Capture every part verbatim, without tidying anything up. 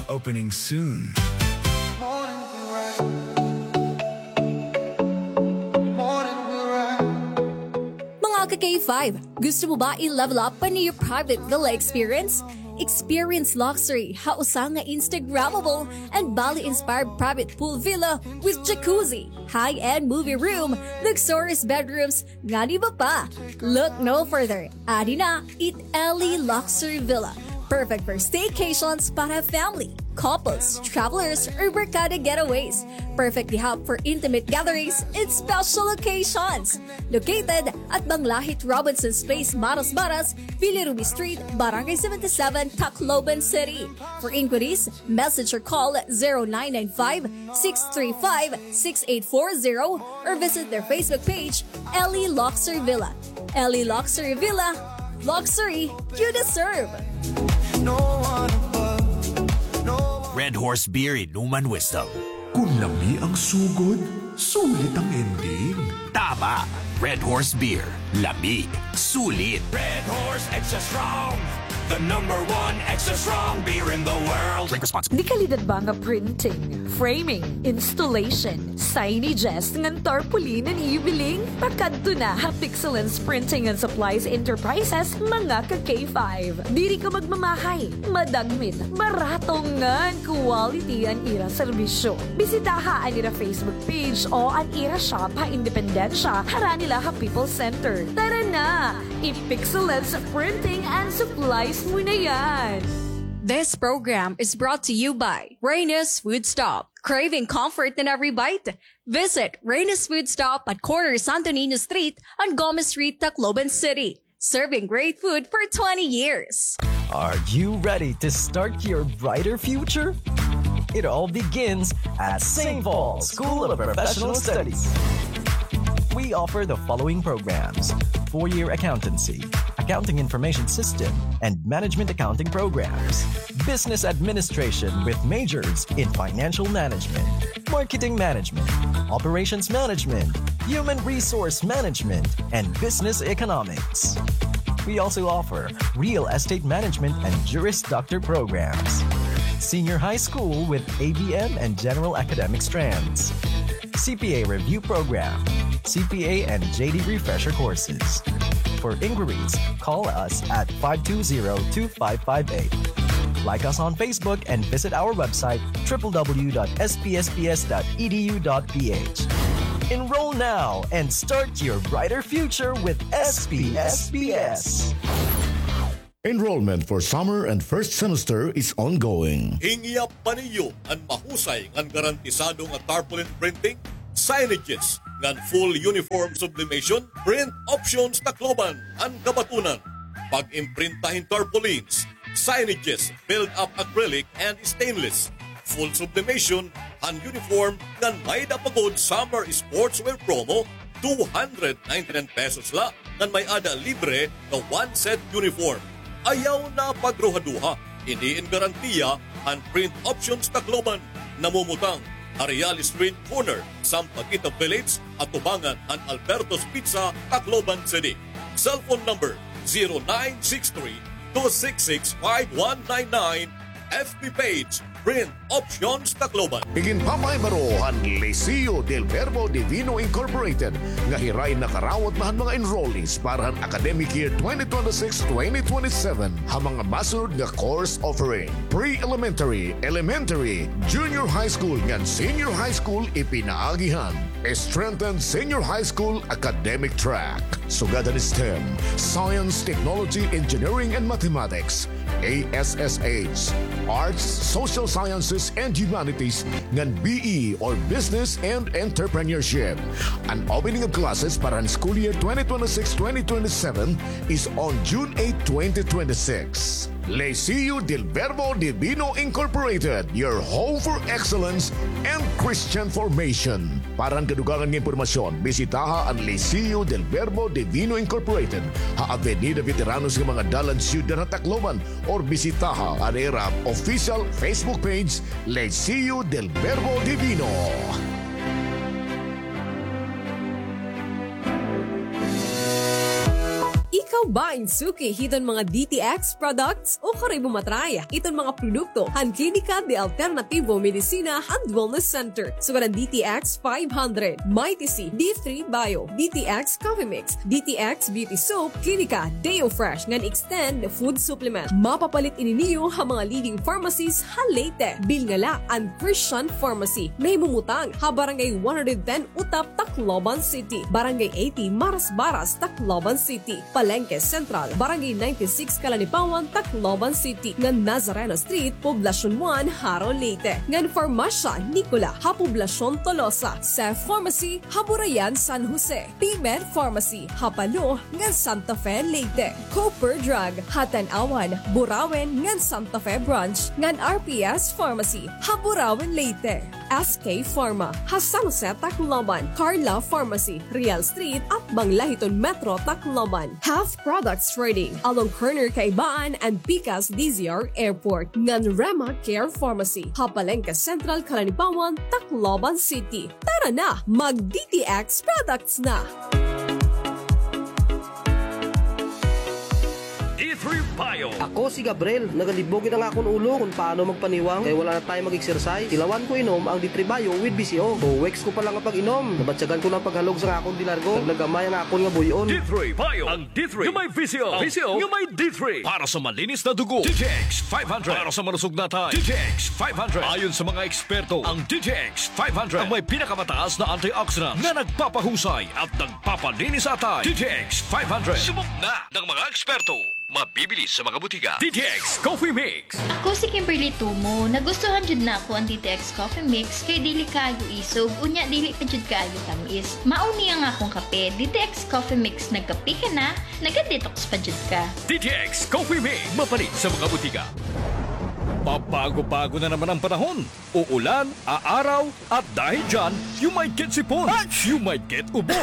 Opening soon. Mga ka-K five, gusto mo ba i-level up pa an iyo private villa experience? Experience luxury ha usa nga Instagrammable and Bali-inspired private pool villa with jacuzzi, high-end movie room, luxurious bedrooms, ngan iba pa. Look no further. Adi na it Ellie Luxury Villa. Perfect for staycations para family, couples, travelers, or barkada getaways. Perfect gihap for intimate gatherings and special occasions. Located at Banglahit Robinsons Place, Marasbaras, Bilirubin Street, Barangay seventy-seven, Tacloban City. For inquiries, message or call zero nine nine five, six three five, six eight four zero or visit their Facebook page, Ellie Luxury Villa. Ellie Luxury Villa, luxury you deserve. Red Horse Beer, inuman wisdom. Kun lami ang sugod, sulit ang ending. Tama! Red Horse Beer. Lami. Sulit. Red Horse Extra Strong, the number one extra strong beer in the world. Drink responsibly. Dekalidad ba nga printing, framing, installation, signages, ngan tarpaulin an iyo biling? Pakadto na ha Pixelance Printing and Supplies Enterprises, mga ka-K five. Diri ka magmamahay, madagmit, barato ngan quality an ira serbisyo. Bisitaha an ira Facebook page o an ira shop ha Independencia, harani la ha People's Center. Tara na! I-Pixelance Printing and Supplies mo na yan! This program is brought to you by Reyna's Food Stop. Craving comfort in every bite? Visit Reyna's Food Stop at corner Santo Niño Street and Gomez Street, Tacloban City. Serving great food for twenty years. Are you ready to start your brighter future? It all begins at Saint Paul School of Professional Studies. We offer the following programs: four-year accountancy, accounting information system, and management accounting programs, business administration with majors in financial management, marketing management, operations management, human resource management, and business economics. We also offer real estate management and Juris Doctor programs, senior high school with A B M and general academic strands, C P A review program, C P A and J D refresher courses. For inquiries, call us at five two zero, two five five eight. Like us on Facebook and visit our website, triple W dot S P S P S dot E D U dot P H. Enroll now and start your brighter future with S P S P S. Enrollment for summer and first semester is ongoing. Hingyap pa niyo an mahusay ngan garantisado nga tarpaulin printing, signages, ngan full uniform sublimation? Print Options Tacloban an kabatunan. Pag-imprinta hin tarpaulins, signages, build-up acrylic and stainless, full sublimation han uniform, ngan may-ada pa gud summer sportswear promo, two hundred ninety-nine pesos la, ngan may-ada libre nga one set uniform. Ayaw na pagruhaduha, ini in garantiya han Print Options Tacloban, namumutang ha Real Street corner, Sampaguita Village, atubangan han Alberto's Pizza, Tacloban City. Cellphone number, zero nine six three, two six six, five one nine nine. F B page, Print Options Tacloban. Iginpapahibaro han Liceo del Verbo Divino Incorporated nga hiray nakarawat na han mga enrollees para han academic year twenty twenty-six, twenty twenty-seven ha mga masunod nga course offering: pre-elementary, elementary, junior high school, ngan senior high school, ipinaagi han strengthened senior high school academic track, sugad han STEM, Science, Technology, Engineering, and Mathematics, A S S H, Arts, Social Sciences, and Humanities, ngan B E or Business and Entrepreneurship. An opening of classes para han school year twenty twenty-six, twenty twenty-seven is on June eight, twenty twenty-six. Liceo del Verbo Divino Incorporated, your home for excellence and Christian formation. Para han kadugangan nga impormasyon, bisitaha an Liceo del Verbo Divino Incorporated ha Avenida Veteranos nga mga dalan, Syudad han Tacloban, or bisitaha an ira official Facebook page, Liceo del Verbo Divino. Ikaw Bain suki hiton mga D T X products ukon kay bumatray iton mga produkto han Klinika de Alternativo Medicina and Wellness Center. Sugad an D T X five hundred, Mighty C, D three Bio, D T X Coffee Mix, D T X Beauty Soap, Klinika Deo Fresh ngan Extend Food Supplement. Mapapalit ini niyo ha mga leading pharmacies ha Leyte. Bilngala an Christian Pharmacy. Nahimumutang ha Barangay one hundred ten Utap, Tacloban City, Barangay eighty Marasbaras, Tacloban City, Palengke Central, Barangay ninety-six Calanipawan, Tacloban City, ngan Nazareno Street, Poblacion one, Jaro, Leyte, ngan Farmasya Nicola ha Poblacion Tolosa, Cef Pharmacy ha Burayan, San Jose, P-Med Pharmacy ha Palo ngan Santa Fe, Leyte, Cooper Drug ha Tanauan, Burauen ngan Santa Fe Branch, ngan R P S Pharmacy ha Burauen, Leyte. S K Pharma ha San Jose, Tacloban, Carla Pharmacy, Real Street, atbang la hiton Metro Tacloban. Health Products Trading, along corner Kaibaan and pikas D Z R Airport, ngan Rema Care Pharmacy ha Palengke Central, Calanipawan, Tacloban City. Tara na, mag D T X products na! D three Bio. Ako si Gabriel. Nagalibog gid an akon ulo kon paano magpaniwang kay wala na tayo mag-exercise. Tilawan ko inom ang D three Bio with V C O. Two weeks ko pa lang nga pag-inom, nabatyagan ko na an paghalog sa akon de largo. Naglagamay an akon nga buy-on. D three Bio, ang D three nga may V C O. V C O nga may D three. Para sa malinis na dugo, D T X five hundred. Para sa malusog na atay, D T X five hundred. Ayon sa mga eksperto, ang D T X five hundred ang may pinakamataas na antioxidant na nagpapahusay at nagpapalinis sa atay. D T X five hundred. Subok na ng mga eksperto. Mabibili sa mga butika. D T X Coffee Mix. Ako si Kimberly Tumo. Nagustuhan jud nako an D T X Coffee Mix kay dili kaayo isog, unya dili pa jud kaayo tamis. Mao ni ang akong kape, D T X Coffee Mix. Nagkape ka na, naga-detox pa jud ka. D T X Coffee Mix. Mapalit sa mga butika. Pabago-bago na naman ang panahon. Uulan, aaraw, at dahil dyan, you might get sipon, you might get ubo,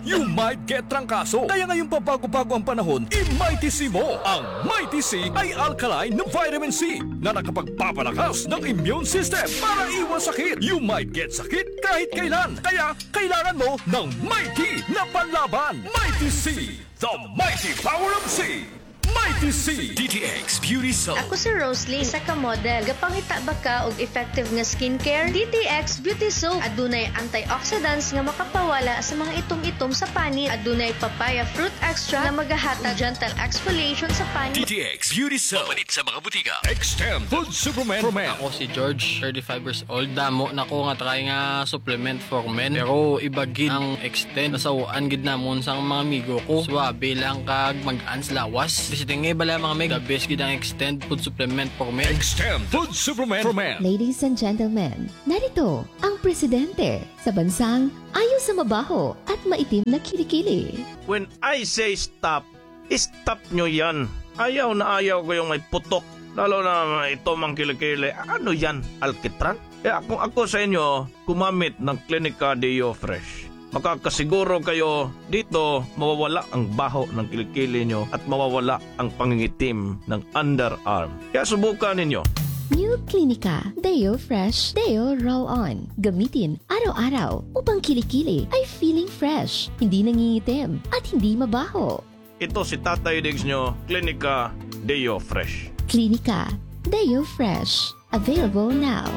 you might get trangkaso. Kaya ngayong pabago-bago ang panahon, i-Mighty C mo. Ang Mighty C ay alkaline na vitamin C na nakapagpapalakas ng immune system para iwas sakit. You might get sakit kahit kailan. Kaya kailangan mo ng Mighty na panlaban. Mighty C, the mighty power of C. Mighty C. D T X Beauty Soap. Ako si Roslyn, isa ka model. Gapangita ba ka og effective nga skincare? D T X Beauty Soap. Adunay antioxidants nga makapawala sa mga itom-itom sa panit. Adunay papaya fruit extract nga magahatag gentle exfoliation sa panit. D T X Beauty Soap. Mapalit sa mga butika. Extend Food Supplement for Men. Ako si George, thirty-five years old. Damo na ko nga try nga supplement for men. Pero iba gid ang Extend. Nasaw-an gid namon sa mga amigo ko. Suwabe lang kag mag-ans lawas. Bisiting nga bala, mga mig. The best gid ang Extend Food Supplement for Men. Extend Food Supplement for Men. Ladies and gentlemen, narito ang presidente sa bansang ayaw sa mabaho at maitim na kilikili. When I say stop, stop nyo yan. Ayaw na ayaw ko yung may putok. Lalo na may itom ang kilikili. Ano yan? Alkitran? Kaya kung ako sa inyo, gumamit ng Klinika Deo Fresh. Makakasiguro kayo dito mawawala ang baho ng kilikili nyo at mawawala ang pangingitim ng underarm. Kaya subukan ninyo. New Klinika Deo Fresh Deo Roll-On. Gamitin araw-araw upang kilikili ay feeling fresh, hindi nangingitim, at hindi mabaho. Ito si Tatay Diggs nyo, Klinika Deo Fresh. Klinika Deo Fresh. Available now.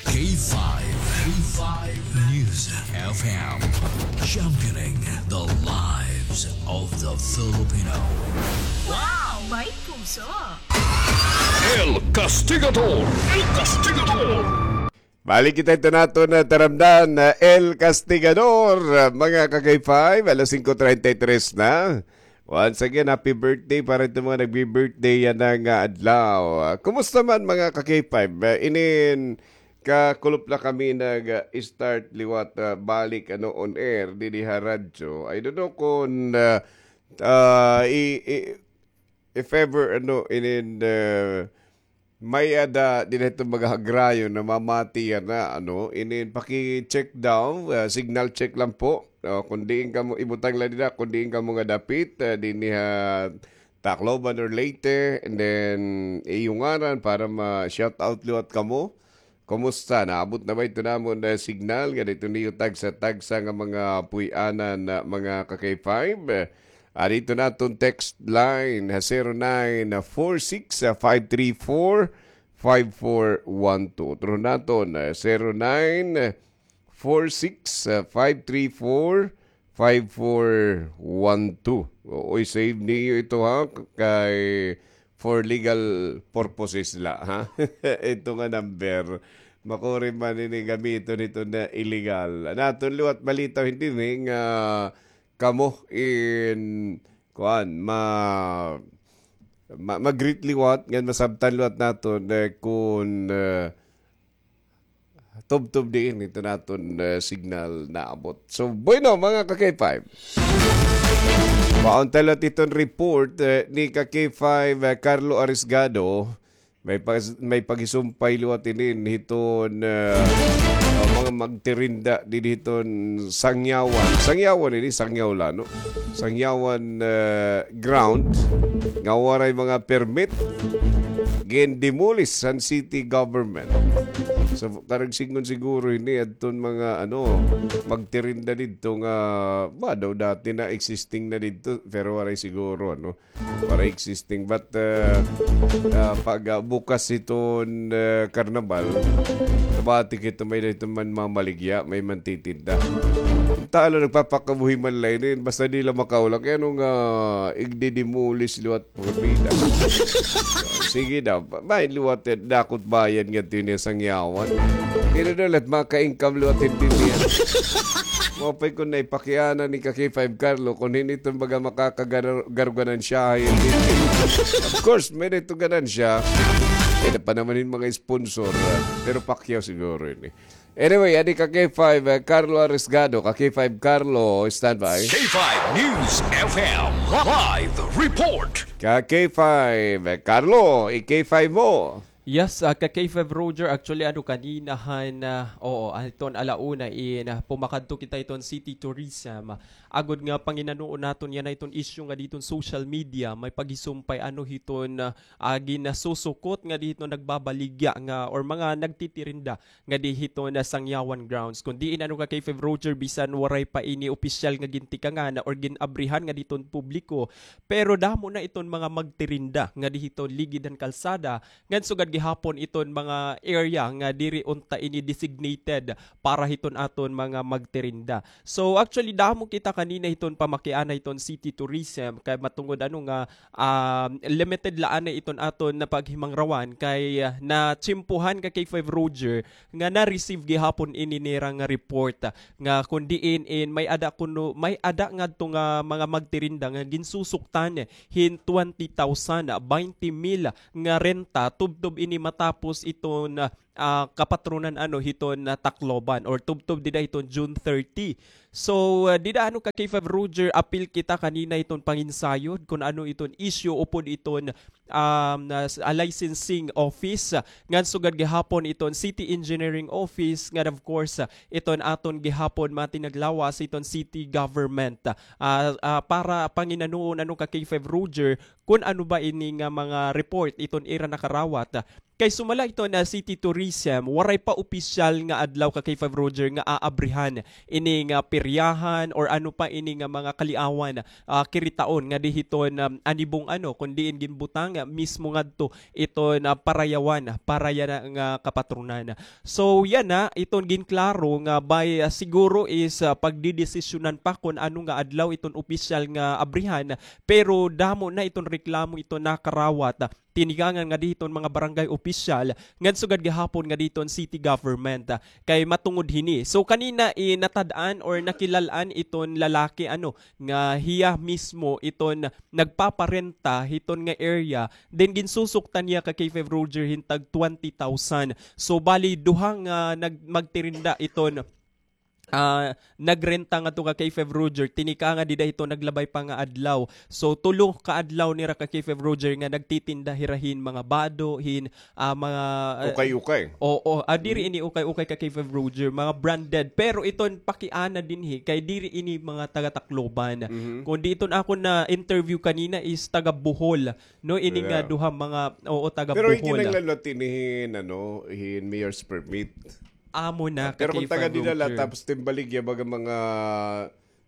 K five, K five News F M, championing the lives of the Filipino. Wow! May puso! El Castigador! El Castigador! Balik kita ito naton na taramdan na El Castigador, mga ka-K five, alas singko treinta y tres na. Once again, happy birthday para ito mga nagbi-birthday yana nga adlaw. Ah, kumusta man mga ka-K five? Ah, inin kakulop na kami nag-start liwat, ah, balik ano on air didi ha radyo. I don't know kung, ah, ah, i- i- if ever, ano, inin, ah, may-ada dinhi iton mga hagrayon namamati yana, ano, inin paki-check daw, ah, signal check lang po. O, kung diin kamo, ibutang lang dida, kung diin kamo nga dapit, ah, dinhi ha Tacloban or Leyte, and then iyo ngaran para ma-shout out liwat kamo. Kumusta? Naabot na ba ito namon na signal? Ganito niyo tagsa-tagsa nga mga puy-anan na mga ka-K five. Ari ito naton text line, ah, zero nine four six five three four five four one two. Otro naton, ah, zero nine four six five three four five four one two. Oo, i-save niyo ito, ha, kay for legal purposes la, ha? Ito nga number, makuri man ini gamiton ito na illegal. An aton liwat balita, hindi ni nga kamo in, kuan, ma-, ma-, ma-greet liwat, ngan masabtan liwat naton, eh, kun, eh, tubtob diin ito naton, eh, signal naabot. So, bueno, mga ka-K five. Paunta liwat iton report, eh, ni ka-K five, eh, Carlo Arisgado. May pag-, may paghisumpay liwat ini hiton, eh, mga magtirinda didi hiton Sangyawan. Sangyawan ini, Sangyaw la, no? Sangyawan, eh, ground nga waray mga permit, gin-demolish han city government. So, karuyag sidngon siguro ini adton mga, ano, magtirinda didto nga, ba, daw dati na existing na didto, pero waray siguro, ano, waray existing. But, eh, ah, pag, ah, bukas hiton, eh, karnabal, nabati kita may dito man mamaligya, may mantitinda. Talo, nagpapakabuhi man la ini, basta di la makaulak. Kay ano nga, igdidemolis liwat porbida. Sige daw, ba-, may liwat, eh, dakot bayan ngadto ini Sangyawan. Diri daw la maka-income liwat ini. Maupay kon naipakiana ni ka-K five Carlo, kon hin-o iton baga makakagar-, garganansyahay ini. Of course, may dito ganansya. May na pa naman hin mga sponsor, ah, pero Pacquiao siguro ini. Anyway, adi ka-K five, eh, Carlo Arisgado. Ka-K five Carlo, standby. K five News F M live report. Ka-K five, eh, Carlo, i-K five mo. Yes, ah, ka-K five Roger, actually, ano, kanina han, ah, oo, ah, iton ala una in, ah, pumakadto kita iton city tourism. Agod nga panginanoon naton yana iton issue nga didto han social media, may paghisumpay, ano, hiton, ah, ah, ginsusukot nga didto nagbabaligya nga or mga nagtitirinda nga didi hiton Sangyawan grounds. Kon diin, ano, ka-K five Roger, bisan waray pa ini opisyal nga gintikangan or gin-abrihan nga didto han publiko, pero damo na iton mga magtirinda nga didi hiton ligid han kalsada, ngan sugad gihapon iton mga area nga diri unta ini designated para hiton aton mga magtirinda. So, actually, damo kita kanina hiton pamakiana hiton city tourism, kay matungod, ano, nga um, limited la anay iton aton napaghimangrawan kay, ah, natsimpuhan ka-K five Roger nga na-receive gihapon ini nira nga report, ah, nga kon diin in may-ada kuno, may-ada ngadto nga mga magtirinda nga ginsusuktan hin twenty thousand, ah, baynte mil nga renta tubtob ini matapos iton, ah, ah, kapatronan, ano, hiton, ah, Tacloban or tubtob dida hiton June thirty. So, ah, dida, ano, ka-K five Roger, apil kita kanina hiton panginsayod kon ano iton issue upod iton, um, ah, s-, ah, licensing office, ah, ngan sugad gihapon iton city engineering office, ngan of course, ah, iton aton gihapon mga tinaglawas hiton city government. Ah, ah, para panginanuon, ano, ka-K five Roger, kon ano ba ini nga mga report iton ira nakarawat, ah, Kay sumala iton city tourism, waray pa opisyal nga adlaw ka-K five Roger nga aabrihan ini nga peryahan or ano pa ini nga mga kaliawan, ah, kiritaon nga didi hiton, um, anibong ano, kon diin ginbutang, ah, mismo ngadto iton, ah, parayawan, para yana nga kapatronan. So, yana iton ginklaro nga by, ah, siguro is, ah, pagdedesisyonan pa kon ano nga adlaw iton opisyal nga abrihan, pero damo na iton reklamo iton nakarawat, ah, tinikangan nga didi hiton mga barangay opisyal, ngan sugad gihapon nga didi hiton city government, ah, kay matungod hini. So, kanina, eh, natad-an or nakilal-an iton lalaki, ano, nga hiya mismo iton nagpaparenta hiton nga area, then ginsusuktan niya ka-K five Roger hin tag twenty thousand. So, bali, duha nga nag-, magtirinda iton ah, nagrenta ngadto ka-K five Roger, tinikangan dida hiton naglabay pa nga adlaw. So, tulo ka adlaw nira ka-K five Roger nga nagtitinda hira hin mga bado, hin, ah, mga, ah, ukay-ukay. Oo, ah, diri ini ukay-ukay ka-K five Roger, mga branded. Pero iton pakiana dinhi, kay diri ini mga taga-Tacloban. Kundi iton akon na-interview kanina is taga-Bohol, no? Ini nga duha mga, oo, taga-Bohol. Pero ikinahanglan la ini hin, ano, hin mayor's permit. Amo na, pero kon taga dida la, tapos timbaligya, baga mga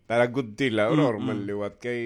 Taragod tila, or, or man liwat kay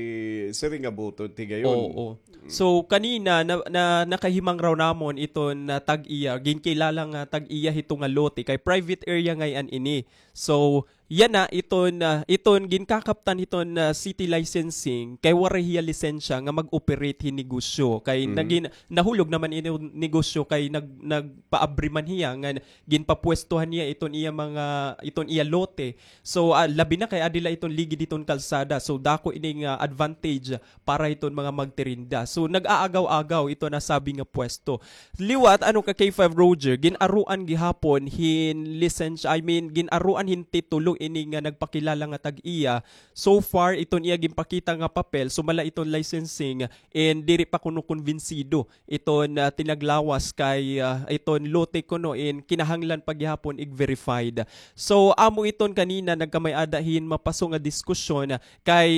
siring nga buto, tigayon. Oo. So, kanina, na, na, nakahimangraw namon iton, ah, tag-iya, ginkilala nga tag-iya hito nga lote, kay private area ngay-an ini. So, yana, iton, ah, iton ginkakaptan hiton, ah, city licensing, kay waray hiya lisensya nga mag-operate hin negosyo. Kay nagin-, nahulog naman ini negosyo kay nag-, nagpaabri man hiya nga ginpapuwestuhan niya iton iya mga, iton iya lote. So, ah, labi na kay adi la iton ligid hiton kalsada. So, dako ini nga advantage para hiton mga magtirinda. So, nag-aagaw-agaw iton nasabi nga puwesto. Liwat, ano ka, K five Roger, gin-aruan gihapon hin lisensya, I mean, gin-aruan hin titulo ini nga nagpakilala nga tag-iya. So far, iton iya ginpakita nga papel, sumala iton licensing, and diri pa kuno kumbinsido iton, ah, tinaglawas kay, ah, iton lote kuno in kinahanglan pa gihapon ig-verified. So, amo iton kanina nagkamay-ada hin mapaso nga diskusyon kay,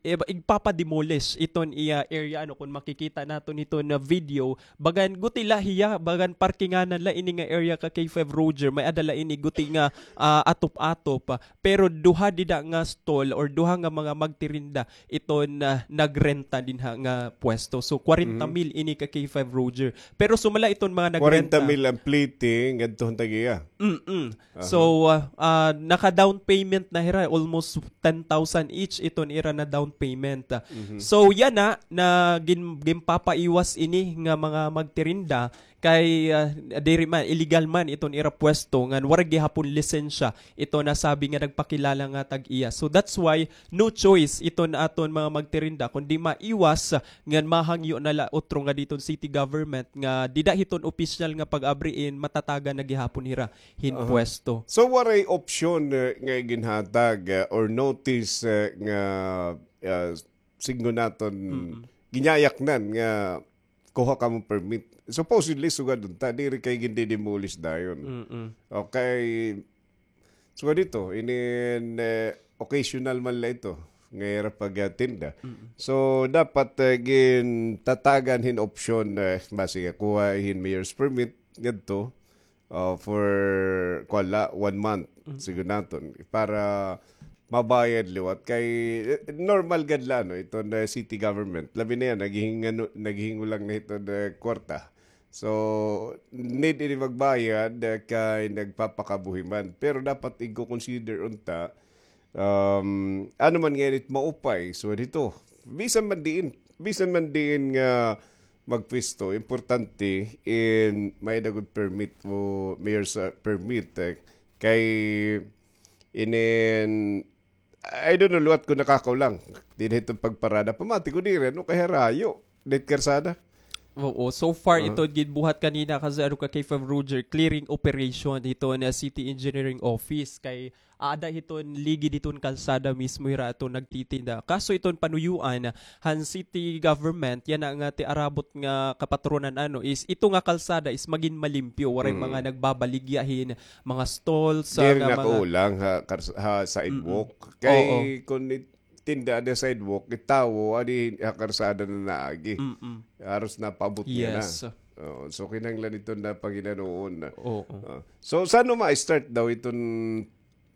eh, igpapa-demolish iton iya area, ano, kun makikita naton iton nga video, bagan guti la hiya, bagan parkinganan la ini nga area ka K five Roger, may-ada la ini guti nga, ah, atop-atop, pero duha dida nga stall or duha nga mga magtirinda iton, ah, nagrenta dinha nga puwesto. So, kwarenta mil ini ka K five Roger. Pero sumala iton mga nagrenta. Kwarenta mil an plete ngadto han tag-iya. Mm-mm. So, ah, ah, naka-down payment na hira, almost ten thousand each iton ira na down payment. So, yana, na gin-, ginpapaiwas ini nga mga magtirinda, kay, ah, diri man, illegal man iton ira puwesto, ngan waray gihapon lisensya iton nasabi nga nagpakilala nga tag-iya. So that's why no choice iton aton mga magtirinda, kundi maiwas, ah, ngan mahangyo na la utro nga diton city government nga dida hiton opisyal nga pag-abri in matatagan na gihapon hira hin puwesto. So waray option, eh, nga ginhatag, eh, or notice, eh, nga, ah, sidngon naton, ginyayaknan nga kuha kamo permit. Supposedly, sugad unta, diri kay gindidemolish dayon. Mm-mm. Okay. Sugad ito, inin, eh, occasional man la ito nga ira pagtinda. Mm-mm. So, dapat, eh, gintatagan hin option, eh, basi nga kuha hin mayor's permit ngadto, uh, for, kuan la, one month, siguro naton, para mabayad liwat. Kay, eh, normal gad la, no, iton, eh, city government. Labi na yan, naghihingano-, naghihingulang na iton, eh, kwarta. So, need ini magbayad, eh, kay nagpapakabuhi man. Pero dapat igko-consider unta, um, ano man nga init maupay. So, dito, bisan man diin, bisan man diin nga magpwesto, importante in may-ada gud permit o mayor's, ah, permit, eh. Kay inin, I don't know, liwat ko nakakaw lang. Dinhi iton pagparada. Pamati ko diri, ano, kay harayo. Dahit karsada. Oo, so far, ito ginbuhat kanina kasi ano ka, K five Roger, clearing operation dito na City Engineering Office. Kay aada hiton ligid hiton kalsada mismo hira aton nagtitinda. Kaso iton panuyuan han city government, yana nga tiarabot nga kapatronan, ano, is ito nga kalsada is magin malimpyo, waray mga nagbabaligya hin mga stalls, diri nga mga nakaulang ha, kars-, ha sidewalk. Kay kun it-, tinda ada sidewalk, it tawo adi ha karsada na naagi. Haros napaabot niya na. Yes. Oo, so kinahanglan ito na panginanuon. Oo. Ah, so, sano ma-start daw iton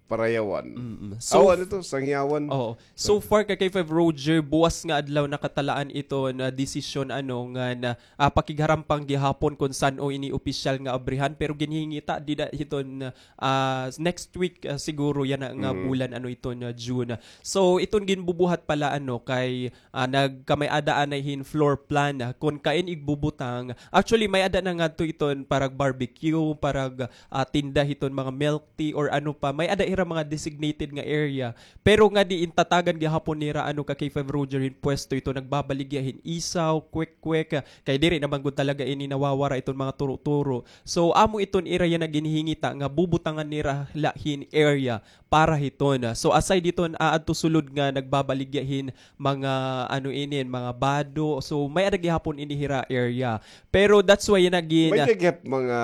Parayawan? Mm-mm. So, aw, ano to? Sangyawan? Oo. So far, ka K five Roger, buwas nga adlaw nakatalaan ito na desisyon, ano, nga na, ah, pakigharampang gihapon kon san-o ini opisyal nga abrihan, pero ginhingita dida hiton, ah, next week, ah, siguro yana nga bulan, ano, ito na June. So, iton ginbubuhat pala, ano, kay ah, nagkamay-ada anay hin floor plan, ah, kon kain igbubutang. Actually, may-ada na ngadto iton parag barbecue, parag, ah, tinda hiton mga milk tea or ano pa. May-ada hira mga designated nga area. Pero ngadi in tatagan gihapon nira, ano, ka K five Roger, hin pwesto ito nagbabaligya hin isaw, kwek-kwek, ah, kay diri naman gud talaga ini nawawara iton mga turo-turo. So, amo iton ira yana ginhingita nga bubutangan nira la hin area para hiton. So, aside hiton, ah, adto sulod nga nagbabaligya hin mga, ano inin, mga bado. So, may-ada gihapon ini hira area. Pero that's why yana gin- May-ada gihap mga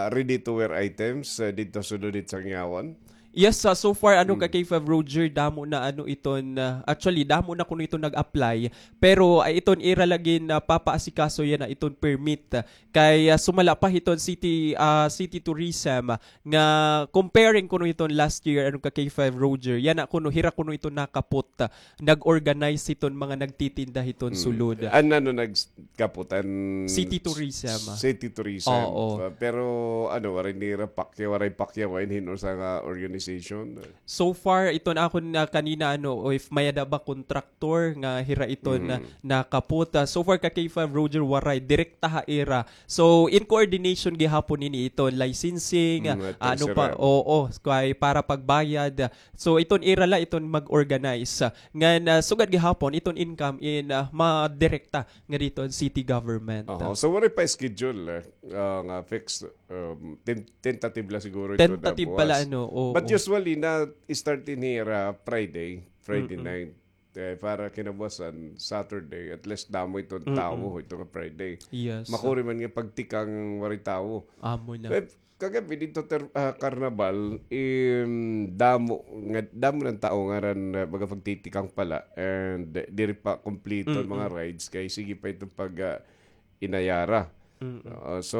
ready-to-wear items, ah, didto sulod hit Sangyawan? Yes, ah, so far, ano, ka K five Roger, damo na, ano, iton, ah, actually, damo na kuno iton nag-apply. Pero, ah, iton ira lagi na papaasikaso yana iton permit. Kay, ah, sumala pa hiton city, ah, city tourism, ah, nga comparing kuno hiton last year, ano, ka K five Roger, yana kuno, hira kuno iton nakapot, ah, nag-organize hiton mga nagtitinda hiton sulod. An ano nagkapot, an city tourism. City tourism. Oo. Ah, pero ano, waray nira pakyaw, waray pakyaw, waray hin usa nga organization. So far, iton akon na kanina, ano, o if may-ada ba contractor nga hira iton na nakapot. Ah, so far, ka K five Roger, waray. Direkta ha ira. So, in coordination gihapon ini iton licensing, ah, ano pa, oo, kay para pagbayad. So, iton ira la iton mag-organize. Ngan, ah, sugad gihapon, iton income in, ah, madirekta nga didto an city government. Oho. So, waray pa schedule, eh, ah, nga fixed, um, ten-, tentative la siguro ito na buwas. Tentative pa la, ano, oo. But usually, na-start ini ira Friday, Friday night. Eh, para kinabuwasan, Saturday, at least damo iton tawo, ito nga Friday. Yes. Makuri man nga pagtikang waray tawo. Amo na. Eh, kagab-i didto ter-, ah, Carnival, im, damo nga, damo nga tawo ngaran, ah, baga pagtitikang pala, and diri pa kompleto an mga rides, kay sige pa iton pag, ah, inayara. Oo, so,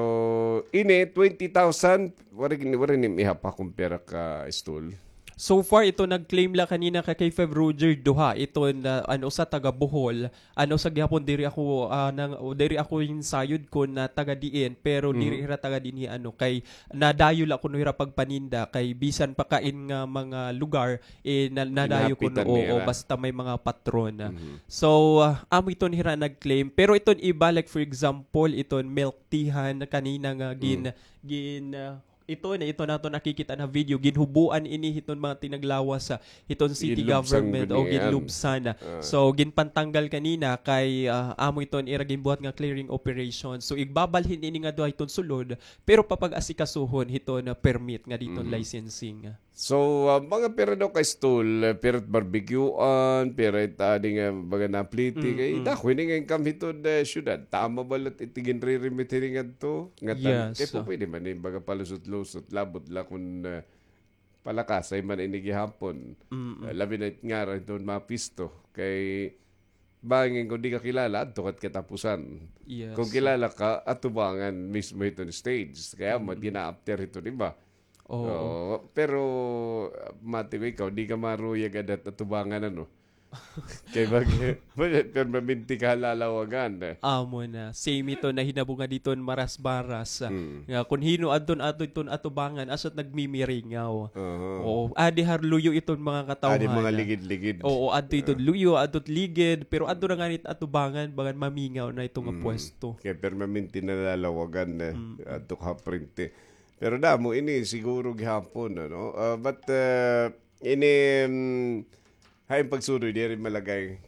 ini, twenty thousand, waray, waray nim ihap ha kon pira ka stall. So far, ito nag-claim la kanina ka K five Roger, duha. Ito na, ano, usa taga Bohol, ano, usa gihapon diri ako, ah, nang, o diri ako hinsayod kon, ah, taga diin, pero diri hira taga dinhi, ano, kay nadayo la kuno hira pagpaninda, kay bisan pa kain nga mga lugar, eh, na-, nadayo kuno, oo, basta may mga patron. So, ah, amo iton hira nag-claim. Pero iton iba, like, for example, iton milk teahan kanina nga gin-, gin-, ah, ito na, ito naton nakikita na video, ginhubuan ini hiton mga tinaglawas sa hiton city government o ginlubsan. So, ginpantanggal kanina kay, ah, amo iton ira ginbuhat nga clearing operation. So, igbabalhin ini nga duha hiton sulod, pero papag-asikasuhon hiton permit nga diton licensing. So, ah, mga pira daw ka stall, eh, pira it barbecuean, pira it adi nga baga napliti, kay dako ini nga income hiton, eh, syudad. Tama ba la it ginre-remit hini ngadto? Ngatan, kay pupwede man ini baga palusot-lusot, labot la kon, eh, palakasay man ini gihapon. Eh, labi na it ngaran hiton mga pisto. Kay bangin kon di ka kilala, adto ka it katapusan. Kon kilala ka, atubangan mismo hiton stage. Kay amo it gina-after hiton iba. Oo. Oo, pero, ah, mati ko ikaw, di ka maruyag ada it atubangan, ano? Kay bag-, permanente ka ha lalawagan, eh. Amo na. Same ito nahinabo nga diton Marasbaras, ah, nga kon hin-o adton adto iton atubangan, asya it nagmimiringaw. Oo. Adi ha luyo iton mga katawhan. Adi mga ligid-ligid. Oo, adto iton luyo, adto it ligid, pero adto na ngani it atubangan, bagan mamingaw na ito nga pwesto. Kay permanente na lalawagan, eh. Adto ka ha frente. Pero damo ini siguro gihapon, ano? Ah, but, ah, ini, mm, hain pagsuroy, diri malagay.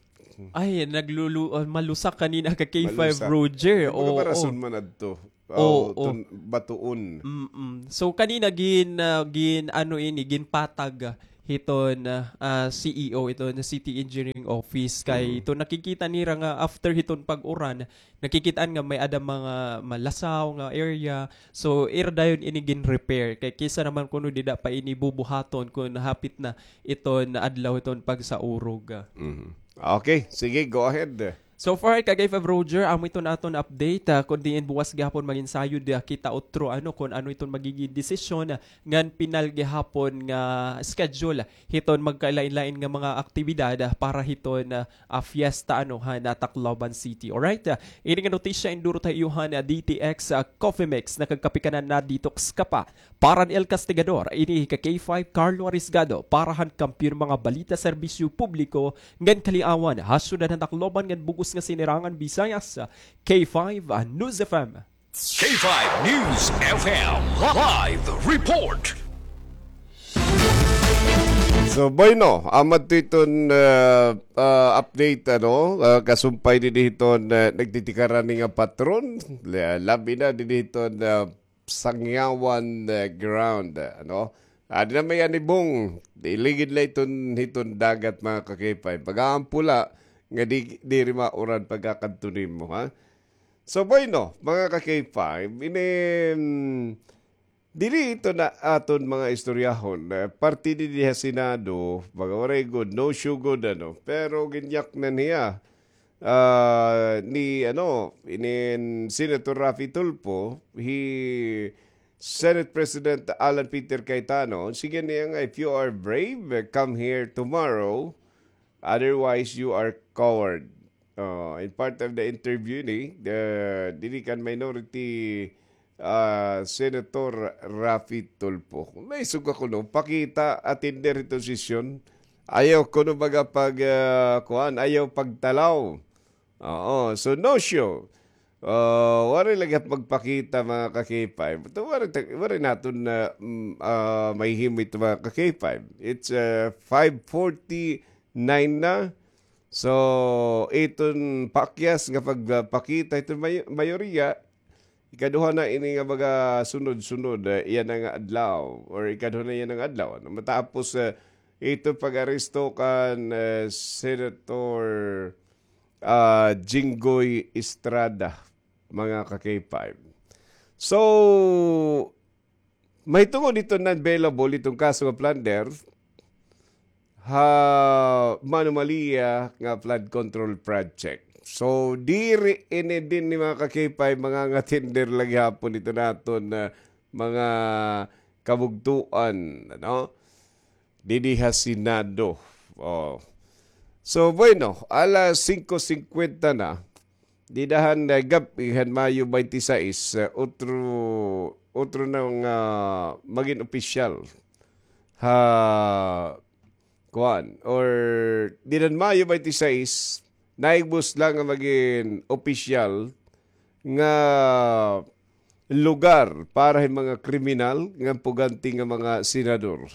Ay, naglulu-, ah, malusak kanina ka K five Roger. Malusak. Ay, baga rason man adto. Oo. Tun-, batuon. Mm-mm. So, kanina gin-, ah, gin-, ano ini, ginpatag hiton, ah, ah, C E O, iton City Engineering Office. Kay ito nakikita nira nga after hiton pag-uran, nakikit-an nga may-ada mga malasaw nga area. So, ira dayon ini gin-repair. Kay kaysa naman kuno dida pa ini bubuhaton kon hapit na iton adlaw iton pagsaurog. Mhm. Okay, sige, go ahead. So far, ka K five Roger, amo iton aton update, ah, kon diin buwas gihapon mag-ensayod, ah, kita utro, ano, kon ano iton magiging desisyon, ah, ngan pinal gihapon nga schedule hiton magkalain-lain nga mga aktibidad, ah, para hiton, ah, ah, fiesta, ano, han, ah, Tacloban City. Alright? Ah, ini nga notisya induro ta ha iyo han, ah, D T X, ah, Coffee Mix, nakagkape ka na, na-detox ka pa. Para han El Castigador, ini ka K five Carlo Arisgado, para han kampiyon mga balita, serbisyo publiko, ngan kaliawan, ha syudad han Tacloban ngan bug-os nga sinirangan Visayas, K five, ah, News F M. K five News F M live report. So, bueno, amo adto iton, ah, ah, update, ano, ah, kasumpay dinhi hiton, ah, nagtitikaran ni nga patron, la-, labi na dinhi hiton, ah, Sangyawan, ah, ground, ah, ano. Ah, adi na may anibong, di ligid la iton hiton dagat, mga ka-K five. Pag-aampo la, nga di, diri mauran pagkakadto nimo, ha? So, bueno, mga ka-K five, ini, mm, Diri ito na aton mga istoryahon. Eh, parte didi ha Senado, mga waray gud, no show gud, ano. Pero ginyak na niya, ah, ni, ano, inin Senator Raffy Tulfo, hi Senate President Alan Peter Cayetano, sige niya nga, "If you are brave, come here tomorrow. Otherwise, you are coward." Oh, in part of the interview ni, the, diri kan minority, ah, Senator Raffy Tulfo. May suga kuno, pakita, attender ito sesyon. Ayaw kuno baga pag, ah, kuan, ayaw pagtalaw. Oo, so no show. Ah, waray lagi magpakita, mga ka-K five. Ito, waray ta-, waray naton na, mm, ah, mahihimo ito, mga ka-K five. It's, ah, five forty-nine na. So, iton pakyas nga pagpakita iton may-, mayoriya, ikaduha na ini nga mga sunod-sunod, eh, yana nga adlaw, or ikaduha na yana nga adlaw, ano, matapos, eh, ito pag-aresto kan, eh, Senator, ah, Jinggoy Estrada, mga ka-K five. So, mahitungod ito non-bailable, itong kaso nga plunder, ha anomalya nga flood control project. So, diri ini dinhi, mga ka-K five, mga nga tender lagi hapon ito naton na mga kabugtuan, ano? Didi ha Senado. Oh. So, bueno, alas singko singkwenta na. Dida han, eh, gab-i han Mayo twenty-six, eh, otro, otro na nga magin opisyal ha, kuan, or dida han Mayo twenty-six, naigbos la nga magin opisyal nga lugar para hin mga kriminal nga pugante nga mga senador.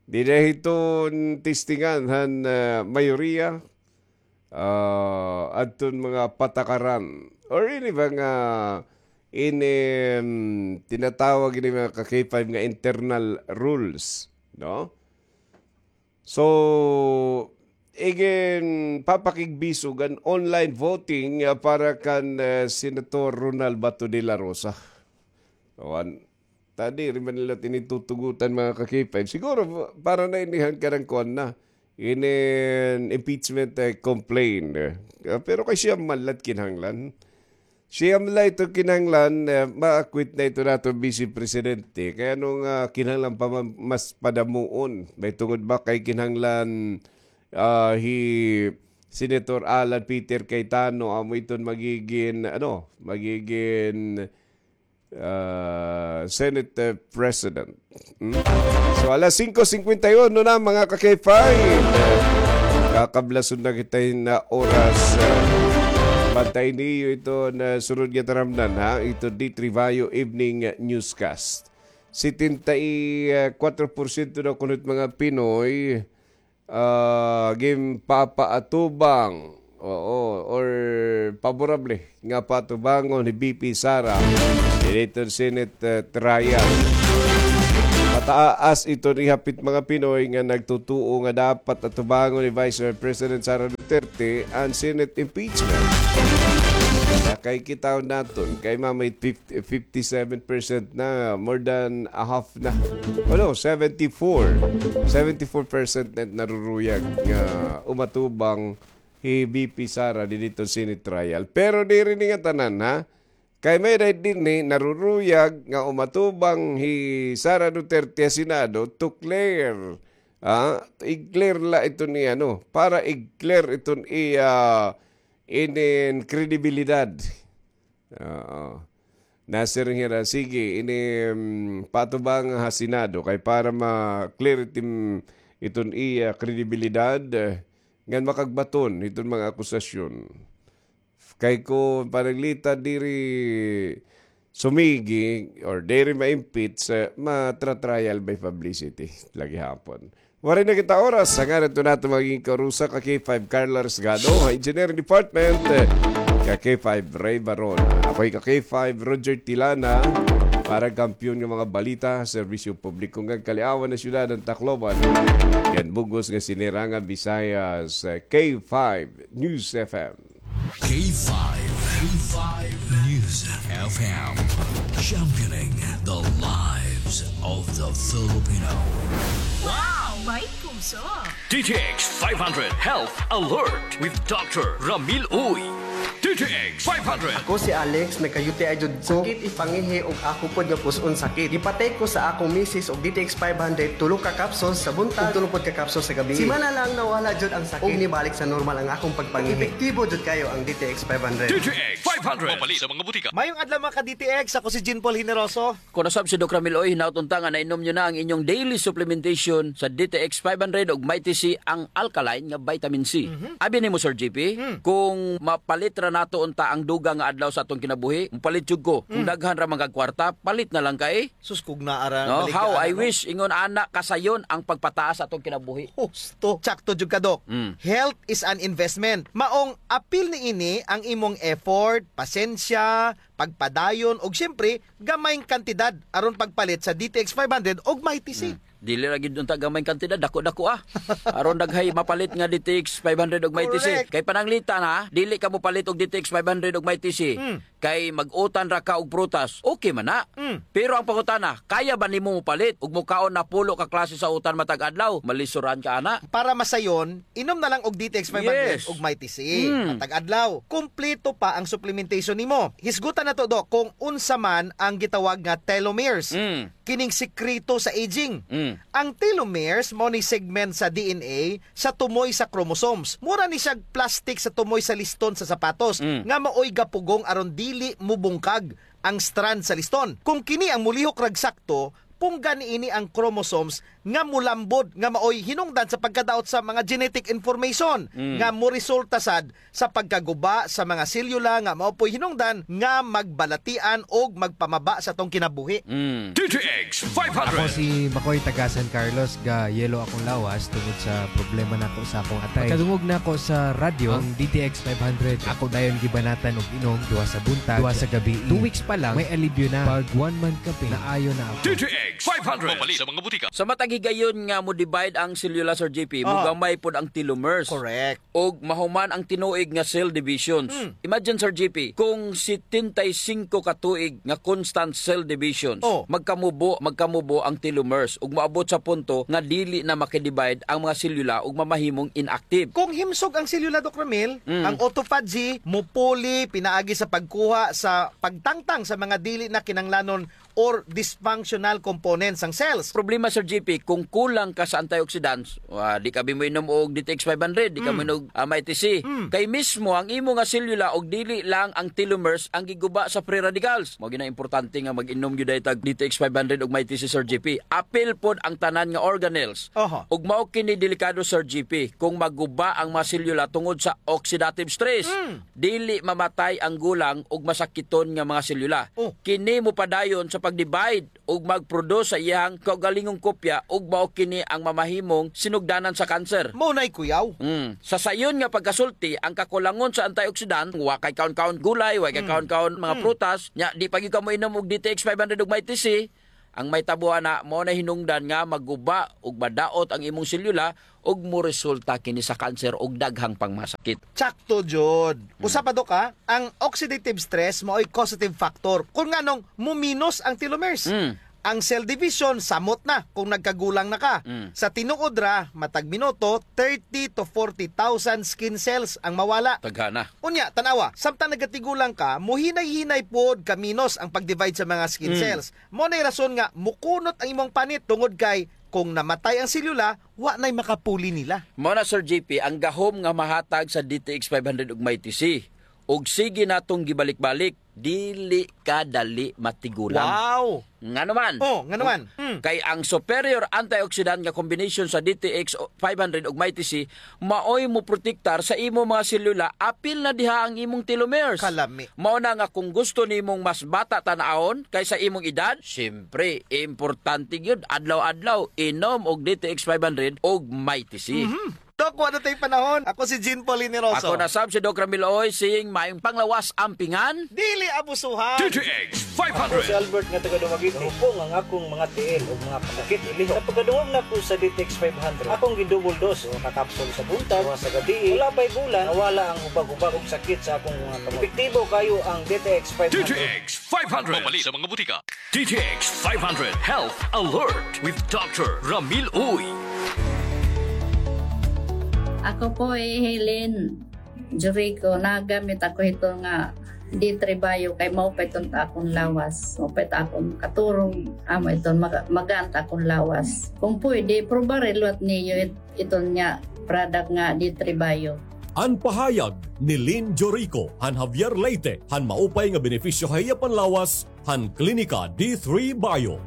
Dida hiton testingan han, eh, mayoriya, ah, adton mga patakaran or ini ba nga ini, mm, tinatawag ini, mga ka-K five, nga internal rules, no? So, iginpapakigbisog an online voting, ah, para kan, eh, Senator Ronald Bato de la Rosa. Kuan, ta diri man nila tinitutugutan, mga ka-K five. Siguro, para na ini han kanang kuan na, inin impeachment, eh, complaint, eh. Ah, pero kay siya man la it kinahanglan. Siya man la ito kinahanglan, eh, ma-acquit na ito naton Vice Presidente. Kay ano nga kinahanglan pa man mas padamuon? Mahitungod ba kay kinahanglan, ah, hi Senator Alan Peter Cayetano amo iton magigin, ano, magigin ah, Senate, eh, President. Hmm? So, alas singko singkwenta y uno na, mga ka-K five. Kakablason na kita hin oras. Ah, bantay niyo ito na sunod nga taramnan, ha? Ito D three Bayo Evening Newscast. Setenta y kuatro porsyento daw kuno it mga Pinoy ah, ginpapaatubang, oo, or paborable nga paatubangon ni V P Sara didto Senate, eh, trial. Mataas iton ihap it mga Pinoy nga nagtutuo nga dapat atubangon ni Vice President Sara Duterte an Senate impeachment. Kay kitaon naton, kay mamay fifty-seven percent na, more than a half na. Ano, seventy-four. Seventy-four percent na naruruyag nga umatubang hi V P Sara didto Senate trial. Pero diri ni nga tanan, ha? Kay may-ada dinhi naruruyag nga umatubang hi Sara Duterte ha Senado to clear. Ah, i-clear la iton iya, no? Para i-clear iton iya inin kredibilidad. Oo. Nasiring hira, sige, ini, mm, patubang ha Senado kay para ma-clear itin, iton iya kredibilidad, eh, ngan makagbaton iton mga akusasyon. Kay kon pananglitan diri sumigi or diri ma-impeach, eh, matra-trial by publicity lagi hapon. Waray na kita oras. Sa ngaran to nato maging karusa ka K five Carla Resgado, ha Engineering Department, eh, ka K five Ray Baron. Ako'y ka K five Roger Tilana para kampiyon nga mga balita, serbisyo publiko nga kaliawan na syudad ng Tacloban. Yan bugos nga sinirangan Visayas, eh, K five News F M. K five, K five News F M, championing the lives. of the Filipino. Wow! May puso! D T X five hundred Health Alert with Doctor Ramil Uy. D T X five hundred. Ako si Alex, nagka-U T I jud ko. Sakit it pangihi ug ako pod nga pus-on sakit. Gipatake ko sa akong misis og D T X five hundred, tulo ka capsules sa buntag, ug tulo pod ka capsules sa gabii. Simana lang nawala jud ang sakit. Ug nibalik sa normal ang akong pagpangihi. Epektibo jud kayo ang D T X five hundred. D T X five hundred. Mapalit sa mga butika. Mayong adlaw, mga ka-D T X. Ako si Jean Paul Generoso. Kuno sab si Doc Ramil Uy, hinaot unta nga nainom niyo na ang inyong daily supplementation sa D T X five hundred ug Mighty C, ang alkaline nga vitamin C. Mhm. Abi nimo, Sir G P, Hmm. kung mapalit ra nato unta ang dugang nga adlaw sa atong kinabuhi, mopalit jud ko. Kung Hmm. daghan ra man kag kwarta, palit na lang kay. Sus, kung naa ra, No, balik how ka, I ano? wish, ingon ana, kasayon ang pagpataas sa atong kinabuhi. Husto. Tsakto jud ka, Doc. Mm. Health is an investment. Maong apil niini ang imong effort, pasensya, pagpadayon, ug siyempre, gamayng kantidad aron pagpalit sa D T X five hundred ug Mighty C. Hmm. Dili ra gyud unta gamayng kantidad, dako-dako, ah. Aron daghay mapalit nga D T X five hundred ug Mighty C. Correct. Kay pananglitan, ha, dili ka mopalit og D T X five hundred ug Mighty C. Hmm. Kay mag-utan ra ka og prutas. Okay man na. Hmm. Pero ang pangutana, kaya ba nimo mopalit ug mokaon napulo ka klase sa utan matag adlaw? Malisuran ka ana. Para masayon, inom na lang og D T X five hundred Yes. ug Mighty C. Hmm. Matag adlaw. Kumpleto pa ang supplementation nimo. Hisgutan nato, Doc, kung unsa man ang gitawag nga telomeres. Hmm. Kining sikreto sa aging. Mm. Ang telomeres mao ni segment sa D N A sa tumoy sa chromosomes. Mura ni siya plastic sa tumoy sa liston sa sapatos Mm. nga maoy gapugong aron dili mubungkag ang strand sa liston. Kung kini ang mulihok rag sakto, punggan niini ang chromosomes nga mulambod nga maoy hinungdan sa pagkadaot sa mga genetic information Mm. nga moresulta sad sa pagkaguba sa mga selyula nga mao po'y hinungdan nga magbalatian og magpamaba sa atong kinabuhi. Mm. D T X five hundred. Ako si Makoy, taga San Carlos, ga yellow akong lawas tungod sa problema nako sa akong atay. Pagkadungog nako sa radyo, ang D T X five hundred, ako dayon gibanatan og inom, duha sa buntag, duha sa gabii. Two weeks pa lang, may alibyo na. Pag one month kapin, naayo na ako. D T X five hundred. Mapalit sa mga butika. Sa matag higayon nga mo-divide ang selyula, Sir G P, Ah. mogamay pod ang telomeres. Correct. Og mahuman ang tinuig nga cell divisions. Hmm. Imagine, Sir G P, kung setenta y cinco ka tuig nga constant cell divisions, Oh. magkamubo, magkamubo ang telomeres ug maabot sa punto nga dili na makidivide ang mga selyula ug mamahimong inactive. Kung himsog ang selyula, Doc Ramil, Mm. ang autophagy, mupuli, pinaagi sa pagkuha sa pagtangtang sa mga dili na kinanglanon or dysfunctional components sang cells. Problema, Sir G P, kung kulang ka sa antioxidants, wa, di ka bi moinom og D T X five hundred, di ka Mm. moinom og, ah, Mighty C. Mm. Kay mismo ang imo nga selula og dili lang ang telomeres ang giguba sa free radicals. Mao gyud na importante nga mag-inom gyud diay tag D T X five hundred ug Mighty C, Sir G P. Apil pod ang tanan nga organelles. Oho. Ug mao kini delikado, Sir G P, kung maguba ang mga selula tungod sa oxidative stress. Mm. Dili mamatay ang gulang ug masakiton nga mga selula. Oh. Kini mopadayon sa pag-divide ug mag-produce sa iyang kaugalingong kopya ug mao kini ang mamahimong sinugdanan sa cancer. Mao nay kuyaw. Mm. Sa sayon nga pagkasulti, ang kakulangon sa antioxidant, wa kay kaon-kaon gulay, wa kay Mm. kaon-kaon mga Mm. prutas, nya di pa gyud ka moinom og D T X five hundred ug Mighty C, ang mahitabo ana, mao na hinungdan nga maguba ug madaot ang imong selula ug moresulta kini sa cancer ug daghang pang mga sakit. Tsakto jud. Mm. Usa pa, Dok, ha, ang oxidative stress maoy causative factor. Kung nganong muminos ang telomeres. Mm. Ang cell division, samot na kung nagkagulang na ka. Mm. Sa tinuod ra, matag minuto, thirty to forty thousand skin cells ang mawala. Taghana. Unya, tan-awa, samtang nagatigulang ka, muhinay-hinay pod kaminos ang pag-divide sa mga skin Mm. cells. Mao nay rason nga mukunot ang imong panit tungod kay kung namatay ang selula, wa nay makapuli nila. Mao na, Sir J P, ang gahom nga mahatag sa D T X five hundred ug Mighty C. Ug sige natong gibalik-balik, dili ka dali matigulang. Wow! Ngano man? Oh, ngano man? Mm. Kay ang superior antioxidant nga combination sa D T X five hundred ug Mighty C maoy moprotektar sa imong mga selula, apil na diha ang imong telomeres. Kalami. Mao na nga kung gusto nimong mas bata tan-awon kaysa imong edad, siyempre, importante gyud adlaw-adlaw inom og D T X five hundred ug Mighty C. Mhm. Dok, Wa na tay panahon. Ako si Jean Paul Generoso. Ako na sab si Doc Ramil Oy, saying maayong panglawas ampingan. Dili abusuhan. D T X five hundred. Ako si Albert nga taga Dumaguete. Hupong ang akong mga tiil ug mga kasakit ilihok. Sa pagkadungog nako sa D T X five hundred, akong gi-double dose, usa ka kapsul sa buntag, usa sa gabii. Wala pa'y bulan, nawala ang hubag-hubag ug sakit sa akong mga kamot. Epektibo kaayo ang D T X five hundred. D T X five hundred. Mapalit sa mga butika. D T X five hundred Health Alert with Doctor Ramil Uy. Ako po, eh, Helen Jurico, nagamit ako hito nga D three Bio kay maupay iton ta akon lawas, maupay ta akon katurog, amo iton maga-, magaan ta akon lawas. Kung pwede, probare liwat niyo it-, iton nga product nga D three Bio. An pahayag ni Lynn Jorico han Javier Leyte, han maupay nga benepisyo ha iya panlawas han Klinika D three Bio.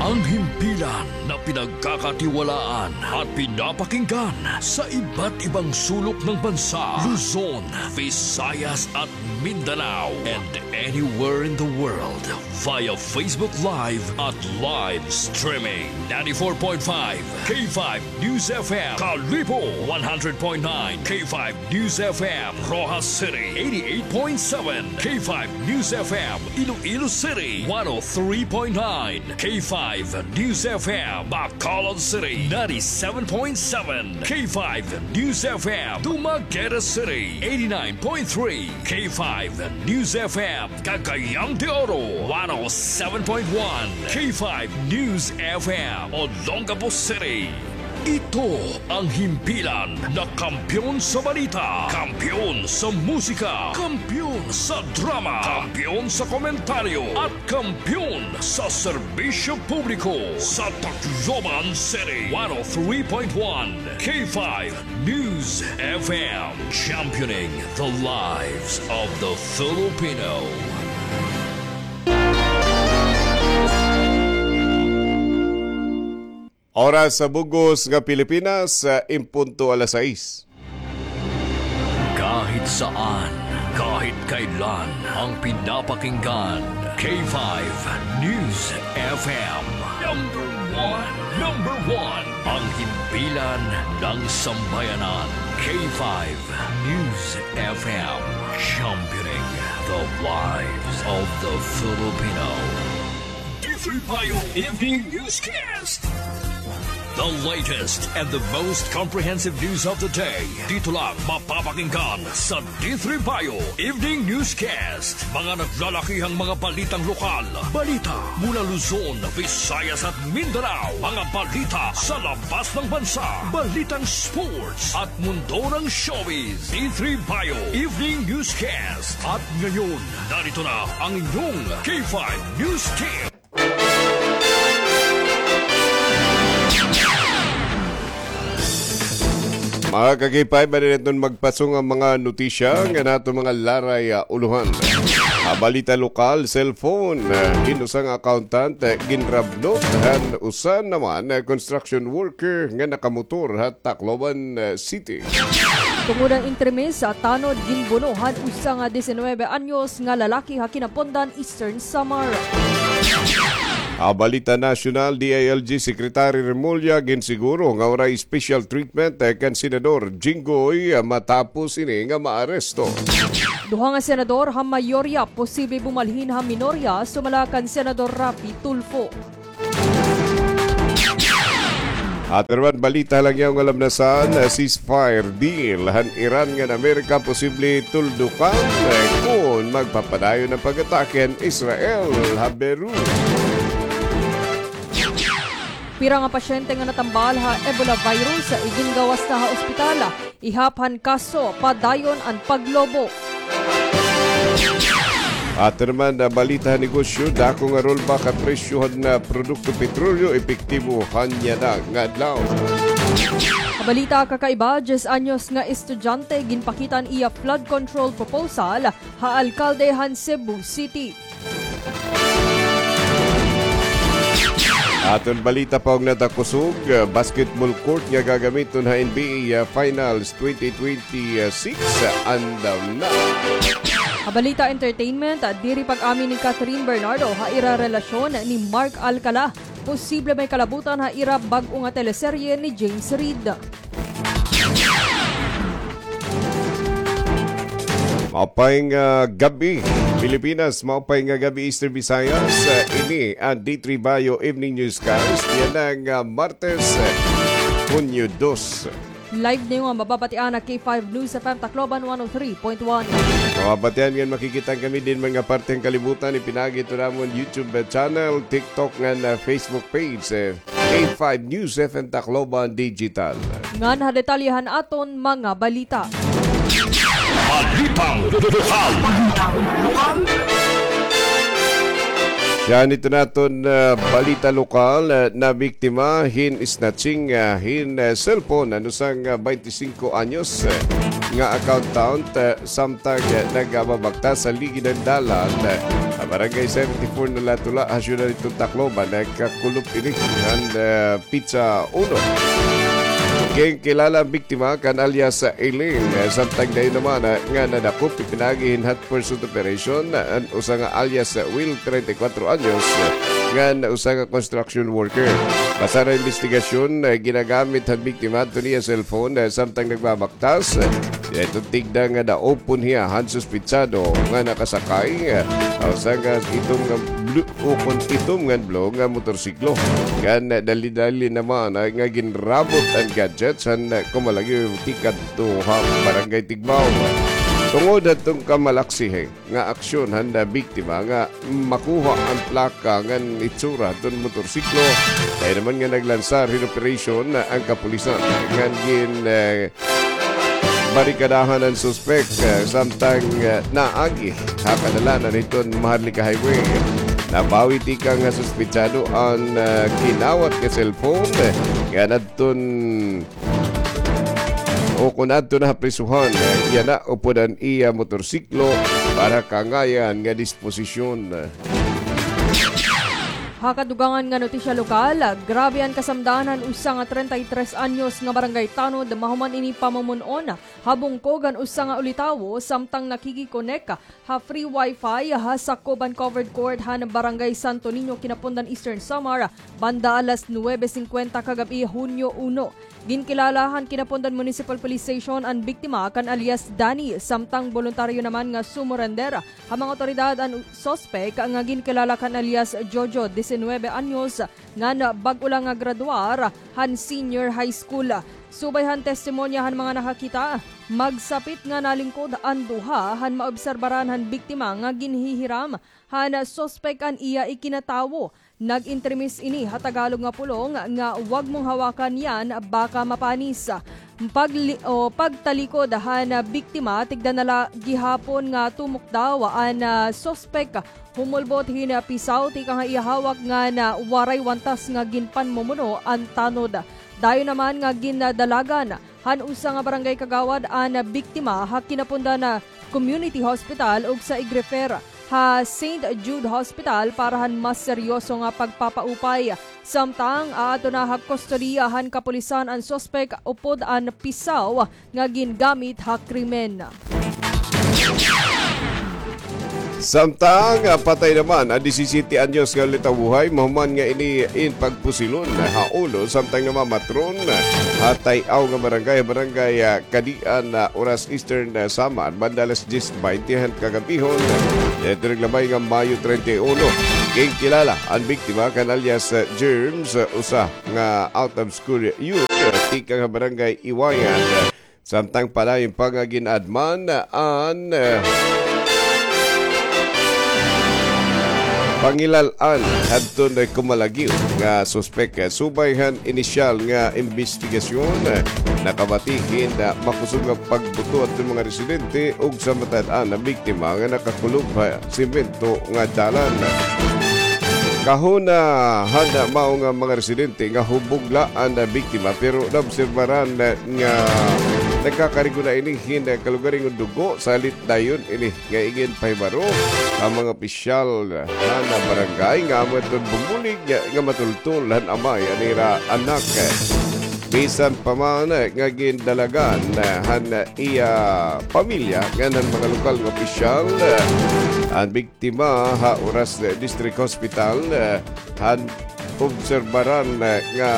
Ang himpilan na pinagkakatiwalaan at pinapakinggan sa iba't ibang sulok ng bansa, Luzon, Visayas at Mindanao, and anywhere in the world via Facebook Live at live streaming. Ninety-four point five K five News F M, Kalibo, one hundred point nine K five News F M, Roxas City, eighty-eight point seven K five News F M, Iloilo City, one oh three point nine K five News F M, Bacolod City, ninety-seven point seven K five News F M, Dumaguete City, eighty-nine point three K five News F M, Cagayan de Oro, one oh seven point one K five News F M, Olongapo City. Ito ang himpilan na kampiyon sa balita, kampiyon sa musika, kampiyon sa drama, kampiyon sa komentaryo, at kampiyon sa serbisyo publiko sa Tacloban City. One oh three point one K five News F M, championing the lives of the Filipino. Oras sa bug-os nga Pilipinas, ah, in punto alas sais. Kahit saan, kahit kailan, ang pinapakinggan, K five News F M. Number one, number one, ang himpilan ng sambayanan, K five News F M, championing the lives of the Filipino. D three Bio Evening Newscast. The latest and the most comprehensive news of the day. Dito lang mapapakinggan sa D three Bio Evening Newscast. Mga naglalakihang mga balitang lokal. Balita mula Luzon, Visayas at Mindanao. Mga balita sa labas ng bansa. Balitang sports at mundo ng showbiz. D three Bio Evening Newscast. At ngayon, narito na ang inyong K five News Team. Mga ka-K five, adi na iton magpasong an mga notisya ngan aton mga laray, ah, ulohan. Ah, balita lokal, cellphone, ah, hin usa nga accountant, ah, ginrabnot han usa naman, ah, construction worker nga nakamotor ha Tacloban, ah, City. Tungod han entremis, ah, tanod ginbuno han usa nga diecinuebe anyos nga lalaki ha Quinapondan, Eastern Samar. Ha balita nasyonal, D I L G Secretary Remulla ginsiguro nga waray special treatment, eh, kan Senador Jinggoy, eh, matapos ini nga maaresto. Duha nga senador ha mayorya posible bumalhin ha minorya sumala kan Senador Raffy Tulfo. Aton naman balita ha langyaw nga lamnasan, eh, ceasefire deal han Iran ngan Amerika posible tuldukan, eh, kon magpapadayon an pag-atake han Israel ha Beirut. Pira nga pasyente nga natambal ha Ebola virus igingawas na ha ospital, ihap han kaso padayon an paglobo. Aton naman nga balita ha negosyo, dako nga rollback ha presyo han, ah, produkto petrolyo epektibo han yana nga adlaw. Ha balita kakaiba, diyes anyos nga estudyante ginpakita an iya flood control proposal ha alkalde han Cebu City. Aton balita pa og natakusog, ah, basketball court nga gagamiton ha N B A, ah, Finals twenty twenty-six, ah, andam na. Ha balita entertainment, ah, diri pag-amin ni Catherine Bernardo ha ira relasyon ni Mark Alcala. posible may kalabutan ha ira bag-o nga teleserye ni James Reid. Maupay nga gab-i, Pilipinas. Maupay nga gab-i, Eastern Visayas. Ini an D three Bayo Evening Newscast yana nga Martes, Hunyo dos. Live niyo nga mababatian ha K five News F M Tacloban one oh three point one. Mababatian ngan makikita kami dinhi man nga parte han kalibutan, ipinaagi hito namon YouTube channel, TikTok ngan Facebook page. K five News F M Tacloban Digital. Ngan ha detalye han aton mga balita. Balitang lokal. Siya an ito naton, ah, balita lokal, ah, nabiktima hin snatching, ah, hin, ah, cellphone an usa nga, ah, baynte singko anyos, ah, nga accountant, ah, samtang, ah, nagababaktas ha ligid han dalan, ah, ha Barangay seventy-four Nalatula, ha siyudad hiton Tacloban, nagkakulop ini han, ah, petsa uno. Ginkilala an biktima kan alias Eileen, ah, samtang dayon naman, ah, nga nadakop ipinaagi hin hot pursuit operation, ah, an usa nga alias, ah, Will, treinta y cuatro anyos, ah, ngan usa nga construction worker. Basar ha imbestigasyon, ah, ginagamit han biktima adto niya cellphone, ah, samtang nagbabaktas. Tas, eh, ito tigda nga naupon hiya han suspetsado nga nakasakay, eh, ha usa nga itom nga blue, ukon itom nga blue nga motorsiklo. Ngan, eh, dali-dali naman, eh, nga ginrabot an gadgets han, eh, kumalagyo tikadto ha Barangay Tigbao. Tungod hadton kamalaksihi nga aksyon han, ah, biktima nga makuha an plaka ngan itsura hadton motorsiklo. Dayon naman nga naglansar hin operasyon, ah, an kapulisan ngan gin, eh, barikadahan an suspek, ah, samtang, ah, naagi ha kadalanan hiton Maharlika Highway. Nabawi tikang ha suspetsado an, ah, kinawat nga cellphone, eh, ngan adton o kon adto na ha prisuhan, yana upod an iya motorsiklo para kaangayan nga disposisyon. Ha kadugangan nga notisya lokal, grabe an kasamdahan han usa nga treinta y tres anyos nga barangay tanod mahuman ini pamumon-on ha bungkog han usa nga ulitawo samtang nakikikonek ha free wifi ha sakob han covered court han Barangay Santo Niño, Quinapondan, Eastern Samar, banda alas nuwebe singkwenta kagab-i, Hunyo uno. Ginkilala han Quinapondan Municipal Police Station an biktima kan alias Danny, samtang boluntaryo naman nga sumurender ha mga awtoridad an suspek nga ginkilala kan alias Jojo, disinuybe anyos, ngan bag-o la nga graduar han senior high school. Subay han testimonya han mga nakakita, magsapit nga nalingkod an duha han maobserbaran han biktima nga ginhihiram han suspek an iya ikinatawo. Nag-entremis ini ha Tagalog nga pulong nga, "Wag mong hawakan yan, baka mapanis." Pagli-, o, pagtalikod han biktima, tigda na la gihapon nga tumok daw an, ah, suspek. Humulbot hin pisaw tikang ha iya hawak ngan waray wantas nga ginpanmumuno an tanod. Dayon naman nga gindalagan han usa nga barangay kagawad an biktima ha Quinapondan Community Hospital ug sa ig-refer ha Saint Jude Hospital para han mas seryoso nga pagpapaupay. Samtang aadto na ha kustodiya han kapulisan an suspek upod an pisaw nga gingamit ha krimen. Samtang, ah, patay naman an disisiyete anyos nga ulitawohay mahuman nga ini in pagpusilon ha ulo samtang namamatron ha tay-aw nga barangay, Barangay, ah, Kadian, ah, Oras, Eastern, ah, Samar, banda alas diyes baynte han kagab-ihon. Didto naglabay nga Mayo treinta y uno, ginkilala an biktima kan alias, ah, Germs, ah, usa nga out of school youth, ah, tikang ha Barangay Iwayan. Samtang padayon pa nga gin-adman an, eh, pangilal-an hadton kumalagyo nga suspek. Subay han inisyal nga imbestigasyon, nakabati hin makusog nga pagbuto hadton mga residente ug sa matad-an nga biktima nga nakakulob ha semento nga dalan. Kahuna han mao nga mga residente nga hubog la an biktima, pero naobserbaran nga nagkakarigona ini hin kalugaringon dugo, salit dayon ini nga iginpahibaro han mga opisyal han barangay nga amo iton bumulig nga matultol han amay han ira anak. Bisan pa man nga gindalagan han iya pamilya ngan han mga lokal nga opisyal an biktima ha Oras District Hospital, han obserbaran, eh, nga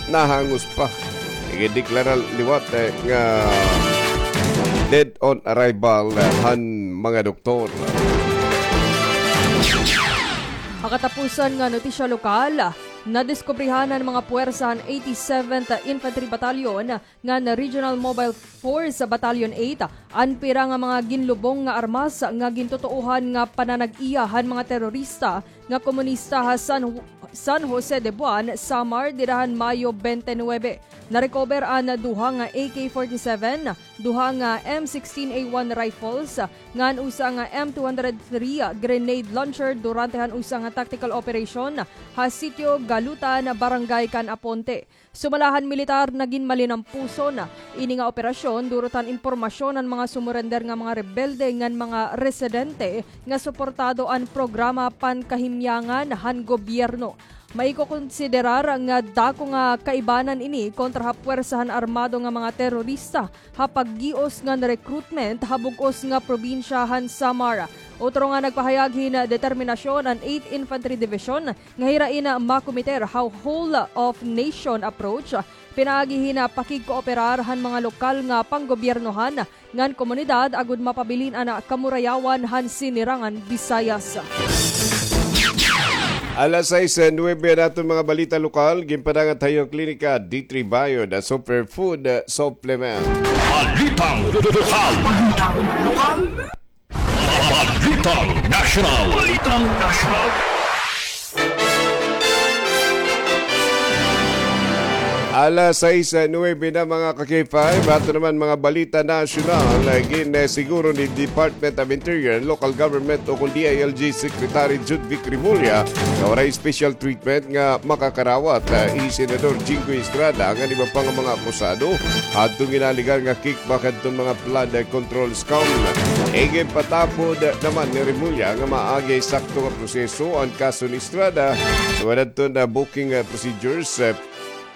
nahangos pa. Igideklara liwat, eh, nga dead on arrival, eh, han mga doktor. Ha katapusan nga notisya lokal, nadiskubrihan han mga puwersa han eighty-seventh Infantry Battalion ngan Regional Mobile Force Battalion eight an pira nga mga ginlubong nga armas nga gintutuohan nga pananag-iya han mga terorista nga komunista ha San, San Jose de Buan, Samar, dida han Mayo twenty-nine. Narecover an duha nga A K forty-seven, duha nga M sixteen A one rifles, ngan usa nga M two hundred three grenade launcher durante han usa nga tactical operation ha Sitio Galutan, Barangay Can Aponte. Sumala han militar, nagin malinampuson ini nga operasyon durot han impormasyon han mga sumurender nga mga rebelde ngan mga residente nga suportado an programa Pankahimyangan han gobyerno. Maikokonsiderar nga dako nga kaibanan ini kontra ha puwersa han armado nga mga terorista ha paggios ngan recruitment ha bug-os nga probinsya han Samar. Utro nga nagpahayag hin determinasyon an eighth Infantry Division nga hirain makomiter ha whole of nation approach pinaagi hin pakigkooperar han mga lokal nga panggobyernohan ngan komunidad agod mapabilin an kamurayawan han Sinirangan Visayas. Alas sais nuwebe an aton mga balita lokal, ginpadangat ha iyo klinika, D three Bio, the superfood supplement. Balitang lokal. Balitang nasyonal. Balitang nasyonal. Alas sais nuwebe na, mga ka-K five. Ato naman mga balita nasyonal. Ginsiguro ni Department of Interior and Local Government o kon D I L G Secretary Judvic Remulla nga waray special treatment nga makakarawat, ah, hi Senador Jinggoy Estrada ngan iba pa nga mga akusado hadton ginalegar nga kickback hadton mga flood control scam. Iginpatapod naman ni Remulla nga maaagi sakto nga proseso an kaso ni Estrada, sumala hadton, ah, booking, ah, procedures, ah,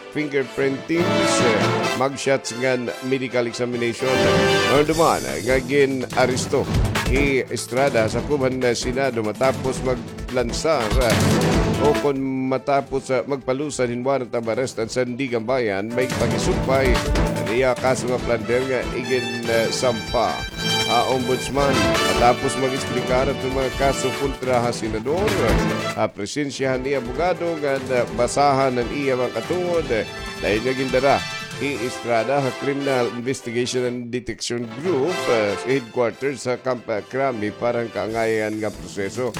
fingerprinting, ah, mugshots ngan medical examination. Nahinumduman nga gin-aresto hi Estrada ha sakob han Senado matapos maglansar, ah, o kon matapos, ah, magpalusad hin warrant of arrest an Sandiganbayan, may pakisumpay han iya kaso nga plunder nga igin, ah, sampa ha Ombudsman. Matapos mag-eksplikar hadton mga kaso kontra ha Senador, ha presensya han iya abogado ngan, ah, basahan an iya mga katuod, dayon nga gindara hi Estrada ha Criminal Investigation and Detection Group, ah, headquarters ha Camp, ah, Crame para han kaangayan nga proseso.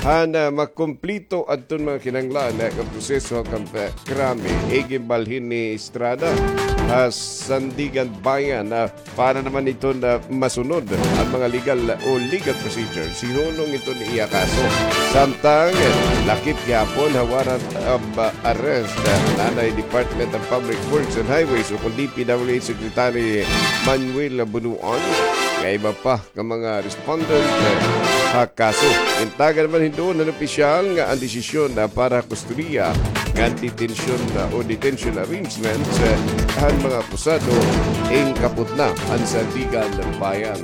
Han, ah, makumplito adton mga kinahanglan nga proseso ha Camp, ah, Crame, iginbalhin ni Estrada ha Sandiganbayan, ah, para naman iton masunod an mga legal o legal procedures, hinunong iton iya kaso. Samtang lakip gihapon ha warrant of arrest an anay Department of Public Works and Highways o kon D P W H Secretary Manuel Bonoan, nga iba pa nga mga respondent ha kaso. Gintagan naman hin duol han opisyal nga an desisyon para ha kustodiya ngan detensyon o detention arrangements han mga akusado, inkapot na an Sandiganbayan.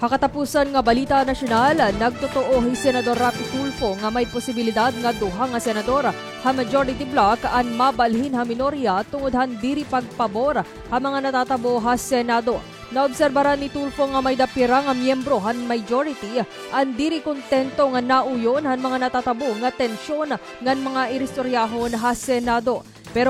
Ha katapusan nga balita nasyonal, nagtutuo hi Senador Raffy Tulfo nga may posibilidad nga duha nga senador ha majority bloc an mabalhin ha minorya tungod han diri pagpabor ha mga natatabo ha Senado. Naobserbaran ni Tulfo nga may-ada pira nga miyembro han majority an diri kontento nga nauyon han mga natatabo nga tensyon ngan mga iristoryahon ha Senado. Pero